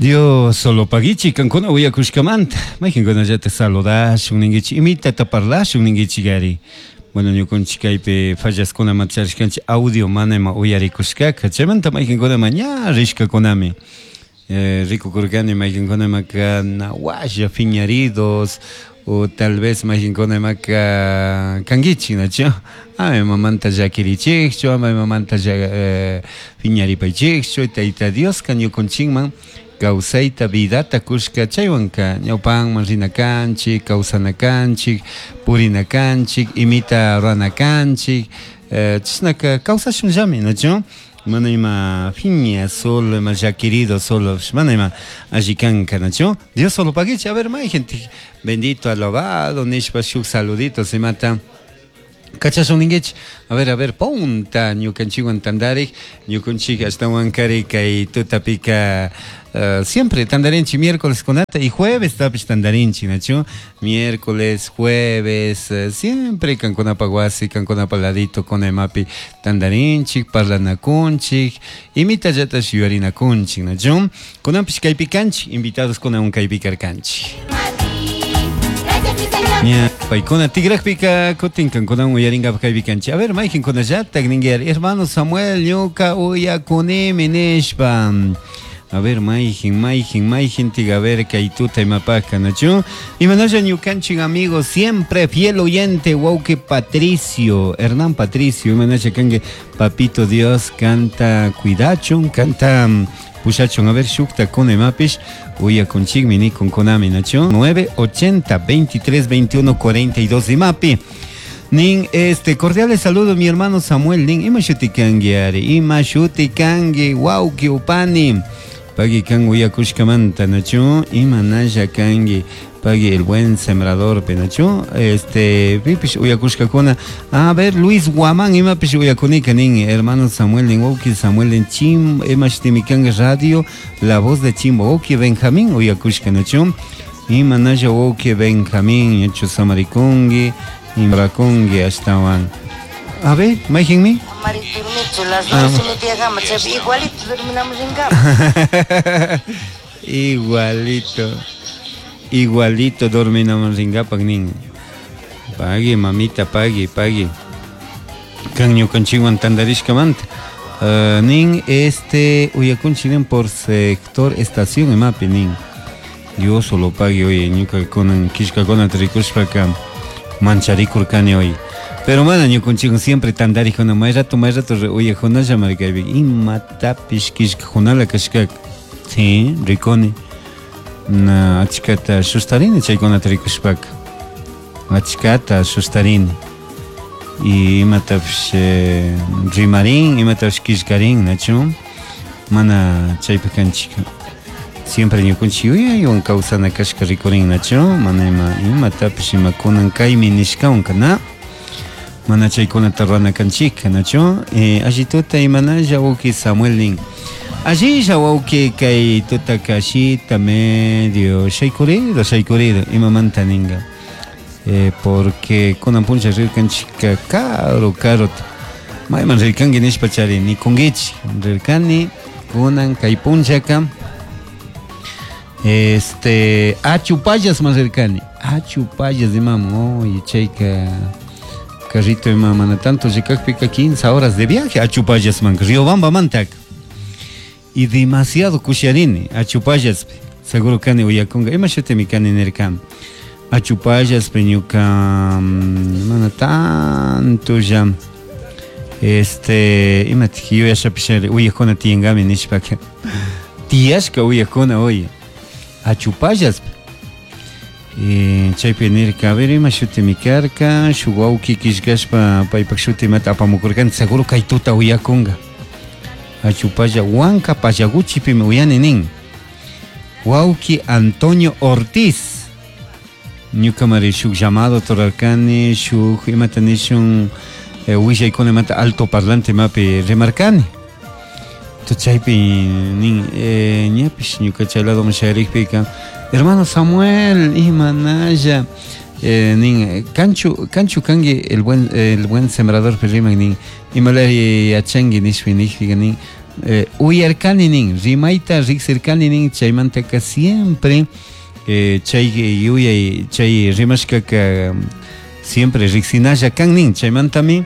Diosolopaguichik kankuna uyakushkamanta mayqinkunallatak saludashun ninkichik imitata parlashun ninkichik ari. Bueno, ñukunchik kaypi fallaskunamanta charishkanchik audio mana ima uyarikushkaka chaymanta mayqinkunama ña rishkakunami. Rikukurkani mayqinkunamaka nawaslla phiñaridos o tal vez mayqinkunamaka kankichik nachu ama imamanta llakirichikchu ama imamanta phiñaripaychikchu Tayta Dioska ñukunchikman kawsayta vidata kushka chaywanka ñawpanman rina kanchik kawsana kanchik purina kanchik imita rurana kanchik chashnaka kawsashunllami nachu Mana ima phiña solo, ima llaquirido solo, mana ima alli kanka, nachu? Diosolopaguichi, a ver, mayqintik bendito, alabado nishpa shuk saluditos imata kachashun ninkichik. A ver, a ver, punta ñukanchikwan tandarik, ñukunchik ashtawankari kay tutapika siempre tandarinchik miércoles kunata y juevestapish tandarinchik, nachu? Miércoles, jueves, siempre kankunapaj wasi, kankunapaj ladito kuna imapi tandarinchik, parlanakunchik, imitallatash yuyarinakunchik, nachu? Kunanpish kaypi kanchik, invitados kunawan kaypi karkanchik. Ña, paykuna tigrajpika kutin kankunawan uyarinkapak kaypi kanchik. A ver, mayqinkunallatak ninki, hermano Samuel, ñuka uyakunimi nishpa. A ver, mayqin, mayqin, mayqintik, a ver, kay tuta imapajka, nachu? Imanalla ñukanchik amigo, siempre fiel oyente, wawqi Patricio, Hernán Patricio, imanalla kanki, papito Dios, kanta cuidachun, kanta pushachun, a ver, shukta kuna imapish, uyakunchikmi nikunkunami, nachu? 9 80 23 21 42 imapi. Nin, este, cordiales saludos mi hermano Samuel, nin, ima shuti kanki ari, ima shuti kanki, wawki upani, pagui kan uyakushkamanta, nachu, ima nalla kanki, pagui el buen sembrador, nachu, este, pipish uyakushkakuna, a ver, Luis Guamán, imapish uyakunika, nin, hermano Samuel, nin, wawki Samuel, nin, chim, ima shutimi kanki, radio, la voz de Chimbo, wawki Benjamín uyakushka, nachu, ima nalla wawki Benjamín, ñachu samarikunki, Imrakunki ashtawan. A ver, mayqinmi? Amari durmichu, las nueve y media gama, chaypi igualito dorminamos ringapa. Igualito. Igualito dorminaman ringapak nin. Pagui, mamita, pagui, pagui. Kan ñukanchikwan tantarishkamanta. Nin, este, uyakunchik nin por sector estación imapi nin. Diosolopague, oye, ñuka kunan killkakunata rikushpaka mancharikurkani oye. Pero mana ñukunchikwan siempre tantarikuna, may rato, may rato uyajunalla markaypi, imatapish killkajunala kashkaka. Sí, rikuni. Na achkata sustarini chaykunata rikushpaka. Achkata sustarini. Y imatapish rimarin, imatapish killkarin, nachu? Mana chaypi kanchik. Siempre ñukunchik yuyaywan kawsana kashka rikurin, nachu? Mana ima, imatapish ima kunan kaymi nishkawanka, na? Mana chaykunata rurana kanchikka, nachu? Alli tuta imanalla wawki Samuel nin. Allilla wawki kay tutaka ashita medio shaykurido, shaykurido, imamanta ninga. Porque kunan puncha rirkanchikka karu, karuta. Mayman rirkanki nishpa chari nikunkichik. Rirkani kunan kay punchaka, este, Achupallasman rirkani. Achupallas imaman, oye, chayka carrito ima mana tanto llikakpika 15 horas de viaje Achupallasman, Riobambamantaka. Y demasiado kusharini Achupallaspi. Seguro kani uyakunga, ima shutimi kani nirka. Achupallaspi ñuka, mana tanto ya, este, imatik yuyashapish uyakuna tiyangami nishpaka. Tiyashka uyakuna, oye, Achupallaspi. Chaypi nirka, a ver, ima shutimi karka, shuk wawki killkashpa paypak shuti imata apamukurkani, seguro kay tuta uyakunga. Achupalla Huanca Payaguchipimi uyani nin. Wawki Antonio Ortiz. Ñukamari shuk llamado turarkani, shuk imata nishun, willaykuna imata alto parlante imapi rimarkani. Entonces chaypi nin, ñapish ñuka chay ladoman shayarikpika, hermano Samuel, imanalla, nin, kanchu, kanchu kanki el buen sembrador riman nin, imalaya yachanki nishpa nijpika nin, Uyarkani nin, rimayta riksirkani nin, chaymantaka siempre chay yuyay, chay rimashkaka siempre riksinalla kan nin, chaymantami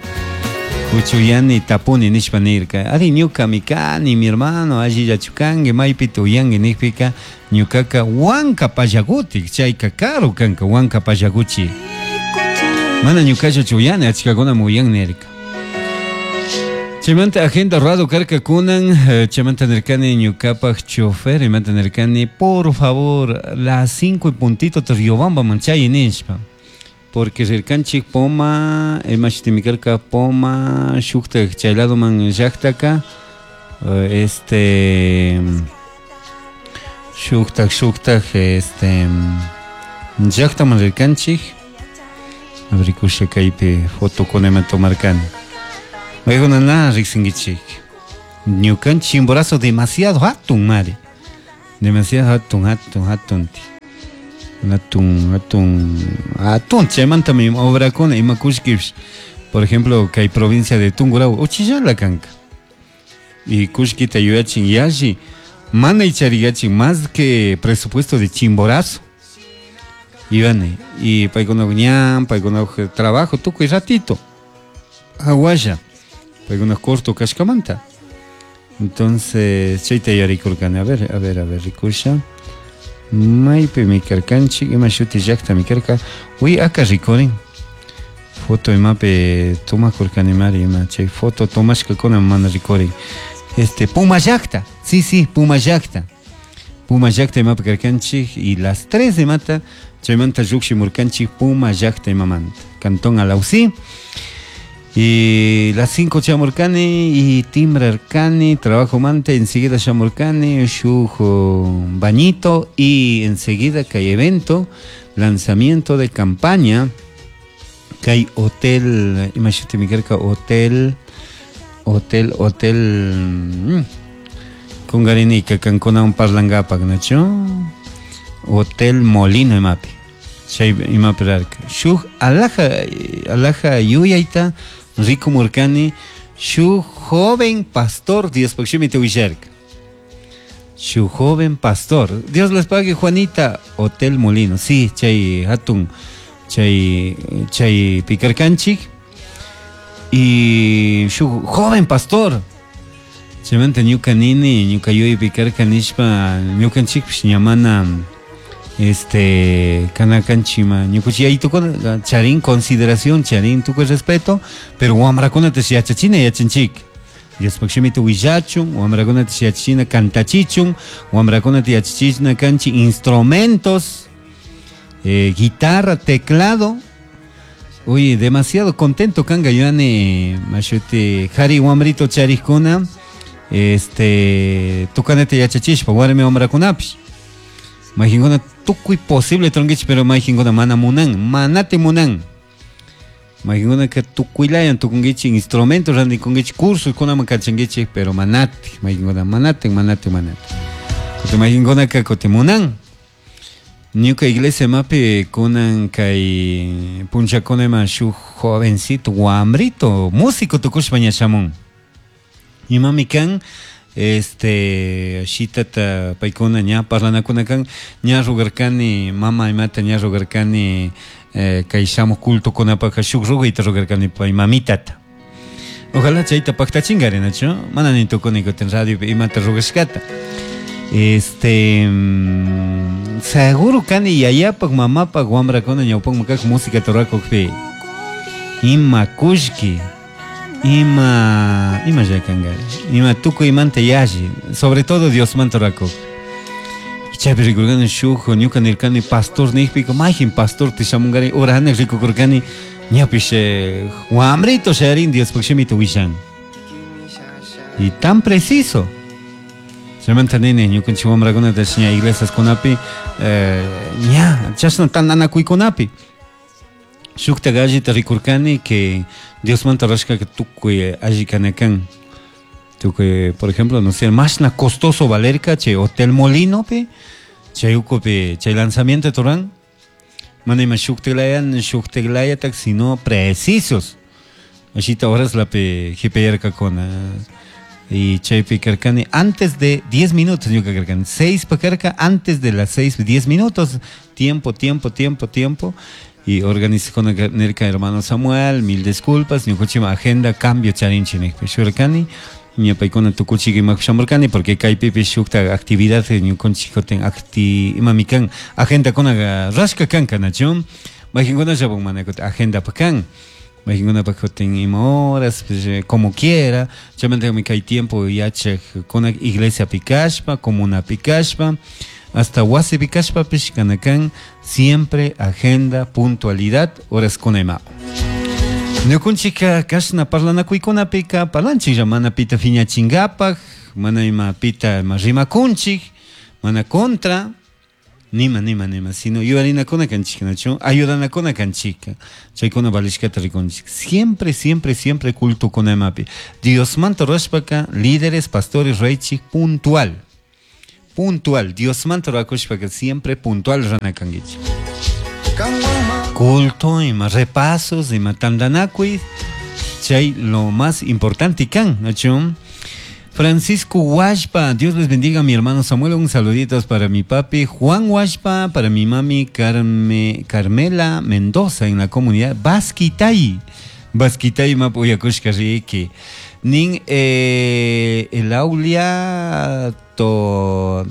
huchuyani tapuni nishpa nirka. Ari ñukami kani, mi hermano, allillachu kanki, maypita uyanki nijpika ñukaka Huanca Pallaguti, chayka karu kanka Huanca Pallaguchi. Mana ñukallachu uyani, achkakunami uyan nirka. Chaymanta agenda rurado karka kunan, chaymanta nirkani ñukapaj chofer, imanta nirkani, por favor, las 5 y puntito te Riobambaman chay nishpa. Porque rirkanchik Poma, imashitimi karka Poma, shuktak chay ladoman llaktaka, shuktak, shuktak, llaktaman rirkanchik. Rikusha kaypi fotokunama tomarkani. Maykuna na riksinkichik. Ñukanchik Chimborazo demasiado hatun mari. Demasiado hatun, hatun, hatun. Hatun, hatun, hatun. Chaymantami obrakuna ima kushkipish. Por ejemplo, kay provincia de Tungurahua, uchillala kanka. Y kushkita yuyachin yalli, mana ichariyachin más que presupuesto de Chimborazo. Ivane, y paykuna ñan, paykuna trabajo, tukuy ratito. Aguaya, paykuna corto kashkamanta. Entonces, chayta yarikurkani. A ver, a ver, a ver, rikusha. Maypi mi karkanchik, ima shuti llakta mi karka. Uy, aka rikurin. Foto imapi tomakurkani mari, ima chay foto tomashkakuna mana rikurin. Puma llakta, sí, sí, Puma llakta. Puma llakta imapi karkanchik y las 3 de mata, chaymanta llukshimurkanchik Puma llakta imamanta. Cantón Alausí. Y las 5 chamurkani y timbrarkani, trabajo manta, enseguida chamurkani, shujo bañito y enseguida que hay evento, lanzamiento de campaña, que hay hotel, imagínate mi carca, hotel, hotel, hotel, con garinica, cancuna un parlangapa, ¿no? Hotel Molino, imapi. Chay imapi rarka. Shuj alaja, alaja yuyaita, Rico Murkani, shu joven pastor, Dios pakshimi te willarka. Shu joven pastor. Dios les pague, Juanita, Hotel Molino. Sí, chay hatun, chay, chay picarcanchik. Y shu joven pastor. Chaymanta ñuka nini, ñuka yuy picarka nishpa, ñukanchikpish ñamana, kanakanchima, ñukuchi yaytukuna, charin consideración, charin tukuy respeto, pero wamrakunata yachachina yachanchik. Diospaj shimita willachun, wamrakunata yachachina kantachichun, wamrakunata yachachina kanchi instrumentos, guitarra, teclado. Oye, demasiado contento kanga yuani, mashuti, jari wamrito charikuna, tukanata yachachishpa, warmi wamrakunapish. Majinkuna tukuy posible tronquich, pero majinkuna mana munan, manate munan. Majinkuna que tukuylayan tukunguichi instrumentos randikunguichi cursos kunaman kachanguichi, pero manate, majinkuna manate, manate, manate. Kote majinkuna que kote munan. Ñuka iglesia mapi kunan kay punchakuna ima shu jovencito, guambrito, músico tukushpa ñashamun. Imami kan, shitata paykuna ña parlanakuna kan, ña rugarkani, mama imata ña rugarkani, kay shamuj cultokunapajka shuk rugayta rugarkani pay mamitata. Ojalá chayta paktachingari, nachu? Mana ni tukuni kutin radiopi imata rugashkata. Seguro kani yayapaj, mamapaj, wambrakuna ñawpakman kak música turakukpi. Ima kullki, ima, ima llakangari, ima tukuymanta yalli, sobre todo Diosmanta turakuk. Chaypi rikurkani shuk, ñuka nirkani pastor nijpika, mayjin pastor tishamungari, ora hanak rikukurkani, ñapish, wambrito sharin Diospaj shimita willan. Y tan preciso. Chaymanta nini, ñukanchik wamrakunata ña iglesiaskunapi, ña, chashna tantanakuykunapi. Shukta gallita rikurkani que Diosmanta rashkaka tukuy alli kana kan. Tukuy, por ejemplo, no sé, mashna costoso valerka chay Hotel Molino pe, chay ucupi, chay lanzamiento de Torán. Mana ima shuktilayan, shuktilayatak, sino precisos. Ashita horas la pe jipeyarkakuna. Y chaypi karkani antes de 10 minutos ñuka karkani 6 pa karka antes de las 6 10 minutos tiempo tiempo tiempo tiempo y organizakuna nirka hermano Samuel mil disculpas ñukanchikman agenda cambio charinchik nijpi shurkani ña paykuna tukuchik imapi shamurkani porque kaypipish shukta actividad ñukanchik kutin acti imami kan agendakunaqa rashka kanka nachu mayqinkunallapak mana kutin agendapak kan mayqinkunapak kutin ima horas pues, como quiera chaymantami kay tiempo yachak kuna iglesiapi kashpa comunapi kashpa hasta wasipi kashpapish kana kan siempre agenda puntualidad horaskuna ima ñukunchikka kashna parlanakuykunapika parlanchiklla mana pita phiñachinkapak mana ima pita ima rimakunchik mana contra nima nima nima sino yuyarinakuna kanchik nachu ayudanakuna kanchik chaykuna valishkata rikunchik siempre siempre siempre cultokuna imapi Diosmanta rurashpaka líderes pastores raychik puntual puntual Diosmanta rurakushpaka siempre puntual rurana kankichik culto ima repasos ima tantanakuy chay lo más importante kan nachu Francisco Huashpa, Dios les bendiga mi hermano Samuel, un saluditos para mi papi Juan Huashpa, para mi mami Carme, Carmela Mendoza en la comunidad Basquitay. Basquitay mapuyakushka riki. Nin el aulia to,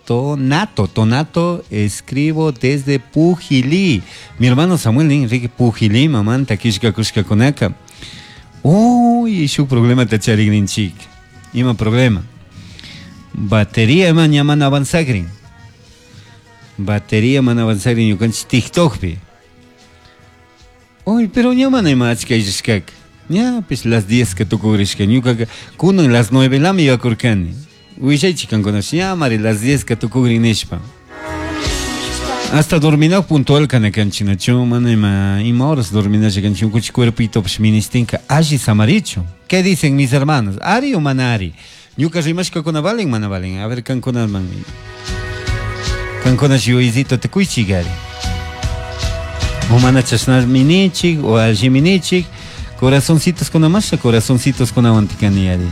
Tonato, Tonato, escribo desde Pujilí. Mi hermano Samuel nin riki Pujilí, mamanta kishka kushka kunaka. Uy, shuk problema ta charigninchik. Ima problema. Batería ima ña mana avanzagrin. Batería mana avanzagrin ñukanchik TikTokpi. Uy, pero ña mana ima achka illashkaka. Ñapish las 10 ka tukugrishka. Ñukaka kunan las 9 lami yuyakurkani. Willaychik kankunash ñamari las 10 ka tukugrin nishpa. Hasta dorminaj puntual kana kanchik nachu mana ima ima horas dorminasha kanchik ñukanchik cuerpitopish ministinka alli samarichu. ¿Qué dicen mis hermanos? ¿Ari o mana ari? Ñuka rimashkakuna valen mana valen. A ver kankunaman. Kankunash yuyaycito tukuychik ari. O mana chashnami nichik o allimi nichik. Corazoncitos kuna masha corazoncitos kunawan tikani ari.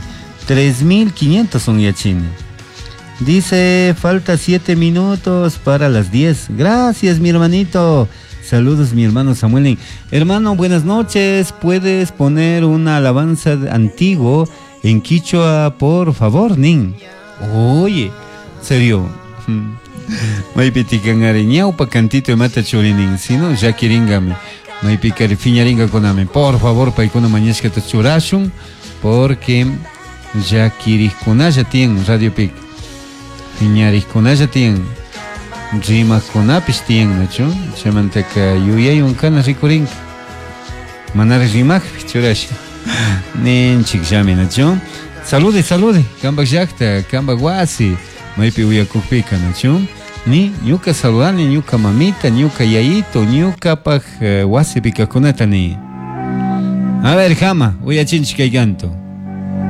3500 son yachini. Dice, falta 7 minutos para las 10. Gracias, mi hermanito. Saludos, mi hermano Samuel. Hermano, buenas noches. ¿Puedes poner una alabanza antiguo en quichua, por favor, Nin? Oye, serio. Maypi tikan ñawpa cantito imata churinin, si no, llakiringami. Maypi kari phiñaringakunami. Por favor, paykuna mañashkata churashun, porque llakirikkunalla tiyan radiopika. Phiñarikkunalla tiyan, rimaqkunapish tiyan, nachu? Chaymantaka yuyaywan kana rikurinka. Manara rimakpi churasha. Ninchikllami, nachu? Salude, salude, kampak llakta, kampak wasi, maypi uyakukpika, nachu? Ni ñuka saludani, ñuka mamita, ñuka yayito, ñukapak wasipi kajkunata ni. A ver, jama, uyachinchik kay canto.